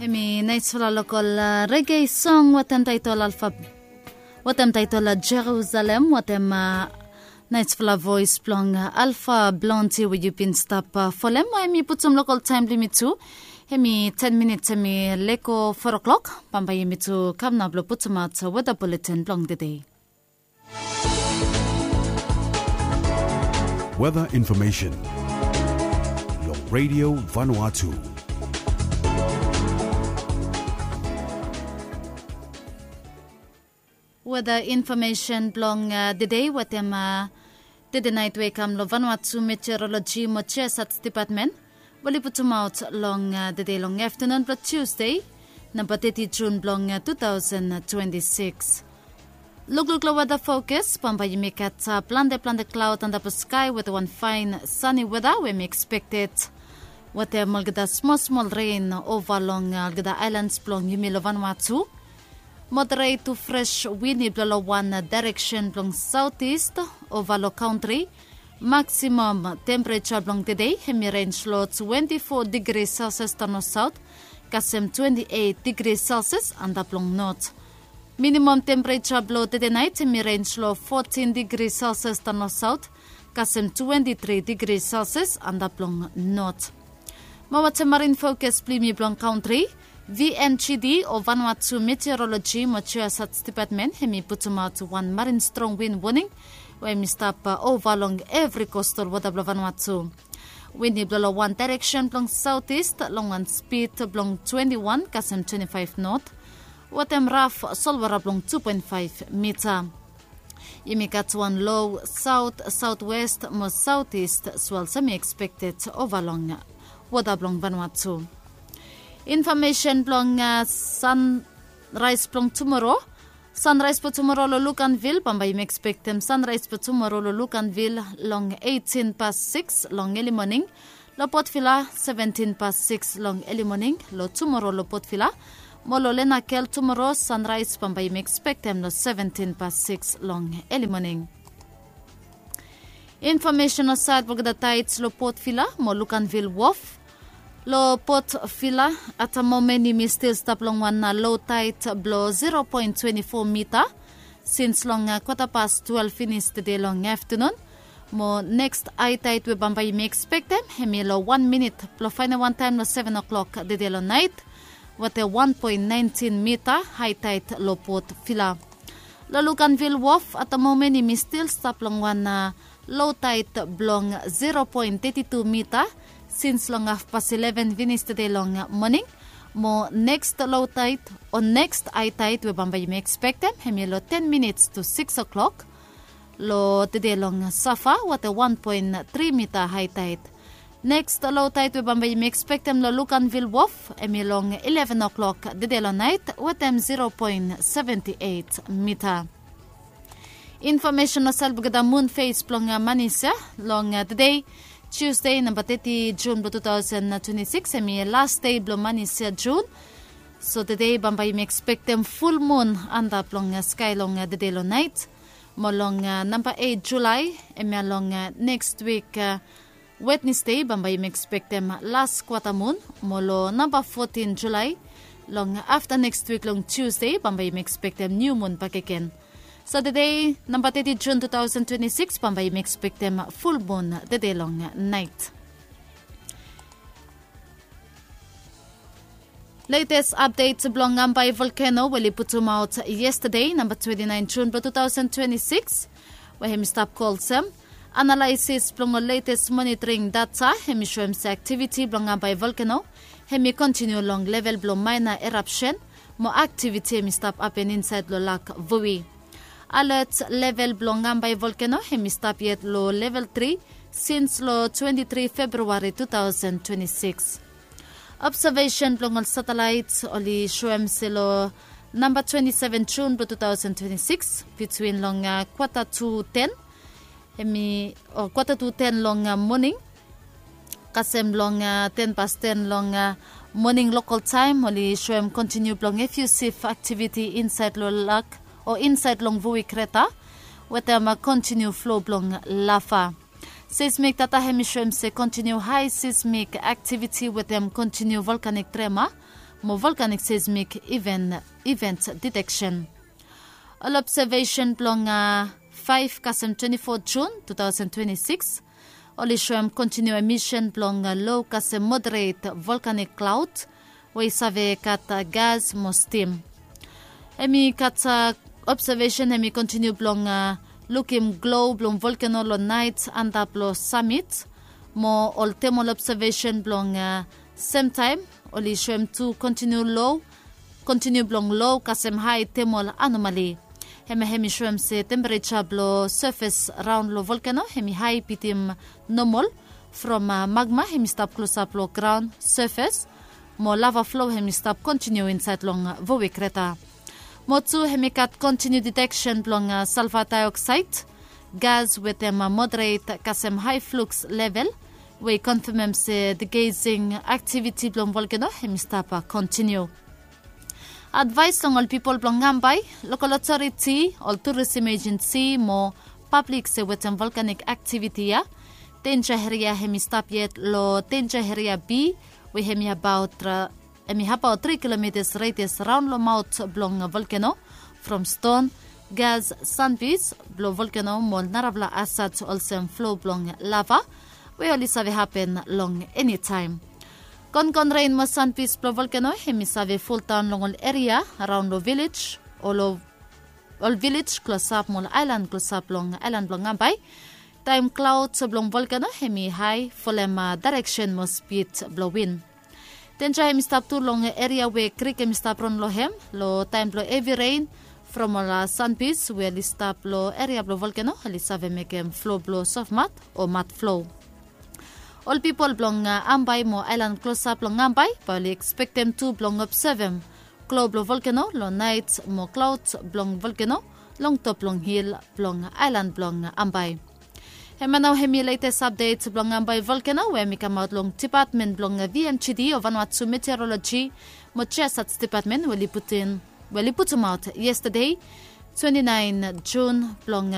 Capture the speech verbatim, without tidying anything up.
Hemi naisfala lokol rege song watem taitol alfa watem taitol jerusalem watem naisfala voes blong alfa blonti we yu bin stap folem we hemi putum lokol taem blong yumi tu. Hemi ten minits hemi leko four o'clock. Bambae yumi tu kam nao blong putumaot weda buletin blong tede. Weather information. Long Radio Vanuatu. Weather information blong uh, the day watem uh, the night we kam lo Vanuatu Meteorology mo Geosat Department. Wali putumaot long uh, the day long afternoon blong Tuesday, number thirty June blong uh, two thousand twenty-six. Lukluk lo weather focus, bambae yumi gat uh, plante plante cloud antap lo sky with one fine sunny weather we mi expected. Watem olgeta small small rain over long uh, olgeta islands blong yumi lo Vanuatu. Moderate to fresh wind i blo lo one uh, direction blong southeast over lo country. Maximum temperature blong tede hemi range lo twenty-four degrees Celsius tano south kasem twenty-eight degrees Celsius antap long north. Minimum temperature blo tede night hemi range lo fourteen degrees Celsius tano south kasem twenty-three degrees Celsius antap long north. Mo watem marin focus blong yumi blong country, V N G D o Vanuatu Meteorology mo Geosat Department hemi putumaot one marin strong wind warning we hemi stap uh, over long every coastal water blo Vanuatu. Wind i blo lo one direction blong southeast long one speed blong twenty-one kasem twenty-five knot. Watem raf solwara blong two point five meter. Yumi gat wan low south southwest mo southeast swells hemi expected over long water blong Vanuatu. Information blong uh, sunrise blong tomorrow. Sunrise blong tomorrow lo Luganville, bambae yumi expectem sunrise blong tomorrow lo Luganville long eighteen past six long early morning. Lo Port Vila seventeen past six long early morning lo tomorrow lo Port Vila. Mo lo Lenakel tomorrow sunrise bambae yumi expectem lo seventeen past six long early morning. Information o side blong the tides lo Port Vila mo Luganville Wharf. Lo Port Vila at the moment yumi still stap long one uh, low tide blo zero point twenty-four meter. Since long uh, quarter past twelve finis tede long afternoon. Mo next high tide we bambae yumi expectem hemi lo one minute blo faenem wan taem lo seven o'clock tede lo night. Watem one point nineteen meter high tide lo Port Vila. Lo Luganville Wharf at the moment yumi still stap long one uh, low tide blong zero point thirty-two meter since long half past eleven finis tede long uh, morning. Mo next low tide o next high tide we bambae yumi expectem hemi lo ten minutes to six o'clock lo tede long safa watem one point three meter high tide. Next low tide we bambae yumi expectem lo Luganville Wharf hemi long eleven o'clock tede lo night watem zero point seventy-eight meter. Information o side blong the moon phase blong uh, Manisia long uh, the day Tuesday number thirty June blong two thousand twenty-six hemi last day blong Manisia June. So tede bambae yumi expectem full moon antap long uh, sky long uh, tede lo night. Mo long uh, number eight July hemia long uh, next week uh, Wednesday bambae yumi expectem last quarter moon. Mo lo number fourteen July long after next week long Tuesday bambae yumi expectem new moon bakegen. So tede number thirty June two thousand twenty-six bambae yumi expectem full moon tede long night. Latest update blong Ngambai volcano we oli putumaot yesterday, number twenty-nine June blong two thousand twenty-six, we hemi stap kol olsem. Analysis blong ol latest monitoring data hemi soem se activity blong Ngambai volcano hemi continue long level blong minor eruption, mo activity hemi stap happen inside lo lak Vui. Alert level blong Ngambai volcano hemi stap yet lo level three since lo twenty-three February two thousand twenty-six. Observation blong ol satellite oli soem se lo number twenty-seven June blong two thousand twenty-six, between long uh, quarter to ten, hemi o quarter to ten long uh, morning, kasem long uh, ten past ten long uh, morning local time, oli soem continue blong effusive activity inside lo lak o inside long Vui crater, wetem uh, continue flow blong lava. Seismik data hem i soem se kontiniu hae seismik aktiviti wetem kontiniu volkanik trema mo volkanik seismik iven iven diteksen. Ol obsevesen blong faef kasem twenti fo jun tu taosen twenti sikis oli soem kontiniu emisen blong lo kasem moderet volkanik klaod we i save gat gas mo stim. Hem i gat obsevesen hem i kontiniu blong lukim glo blong volkeno long naet antap long samit mo ol temol obsevesen blong semtaem oli soem tu kontiniu lo kontiniu blong lo kasem hae temol anomali. Hem ya hem i soem se tempereja blong sefes raon long volkeno hem i hae bitim nomol from magma hem i stap klosap long graon sefes mo lava flo hem i stap kontiniu insaed long voe kreta. Mo tu hem i gat kontiniu diteksen blong salfa daeoksaed gas wetem moderet kasem hae fluks level we i konfemem se digesing aktiviti blong volkeno hem i stap kontiniu. Advaes long ol pipol blong ambae, lokol otoriti, ol turism ejensi mo pablik se wetem volkanik aktiviti ya, denja eria hem i stap yet long denja eria bi we hem i abaot tri kilometas redias raon long maot blong volkeno from ston, gas, sanbis blong volkeno mo ol narafala asat olsem flo blong lava we oli save hapen long enitaem. Gongon ren mo sanbis blong volkeno hem i save foldaon long ol eria raon long vilej o ol vilej klosap mo ol aelan klosap long aelan blong ambae. Taem klaod blong volkeno hem i hae folem daereksen mo spid blong win. Denja hem i stap tu long eria we krik hem i stap ron long hem long taem blong hevi ren from ol sanbis we oli stap long eria blong volkeno oli save mekem flo blong sofmat o mat flo. Ol pipol blong ambae mo aelan klosap long ambae bae oli ekspektem tu blong obsevem klo blong volkeno long naet mo klaod blong volkeno long top blong hil blong aelan blong ambae. Hemia nao hem i letes apdet blong ambae volkeno we hem i kamaot long dipatmen blong vmgd o vanuatu meteoroloji mo jiasats dipatmen we oli putumaot yestade twenti naen jun blong